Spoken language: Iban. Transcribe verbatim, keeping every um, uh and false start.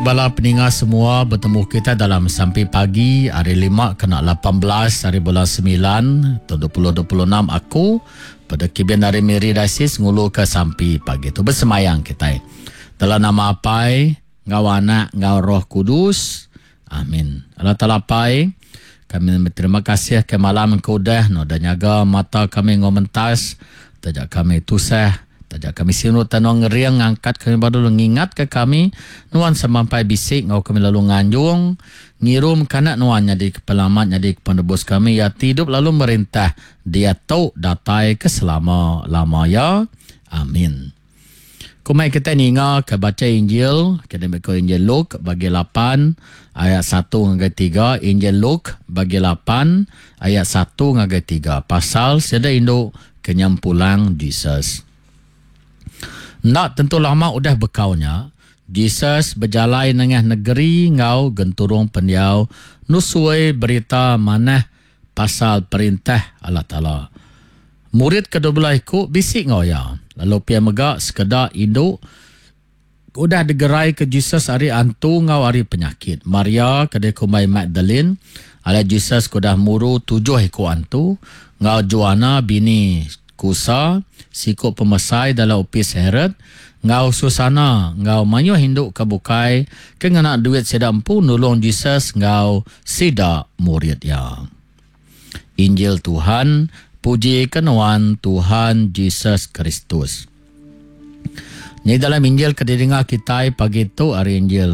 Bala peninga semua betemu kita dalam sampi pagi hari lima kena lapan belas hari bulan semilan tahun dua puluh dua puluh enam aku pada kibin hari Miri Diocese nguluka sampi pagi tu bersemayang kita. Dalam nama Apai, ngau Anak, ngau Roh Kudus. Amin. Allah Taala Apai, kami berterima kasih ke malam ke udah no dah nyaga mata kami ngomentas, tajak kami tusah, tajak kami sinut tanong ngeriang ngangkat kami baru ngingat ke kami nuan sampai bisik ngau kami lalu nganjung ngirum kanak nuan jadi kepelamat jadi penebus kami ya tidup lalu merintah dia tu datai ke selama-lama ya. Amin. Kumai kita ninga ke baca Injil, kita ambil ke Injil Luke bagi lapan ayat satu hingga tiga, Injil Luke bagi lapan ayat satu hingga tiga pasal seda induk kenyampulang Jesus. Nak tentu lama udah bekaunya, Jesus berjalai nengah negeri ngau genturung pendiau nusuai berita manah pasal perintah Allah Taala. Murid kedua belah ikut bisik ngau ya. Lalu pia mega sekeda induk udah digerai ke Jesus hari antu ngau hari penyakit. Maria kedai kumbai Magdalene, ala Jesus kudah muru tujuh ikut antu, ngau Joanna bini Kusa, sikuk pemesai dalam opis Herod, ngau Susana, ngau mayuh induk kebukai, ke ngena duit sida empu nulung Jesus ngau sida murid ya. Injil Tuhan, puji kenuan Tuhan Jesus Kristus. Ni dalam Injil ke didengar kita pagi tu hari Injil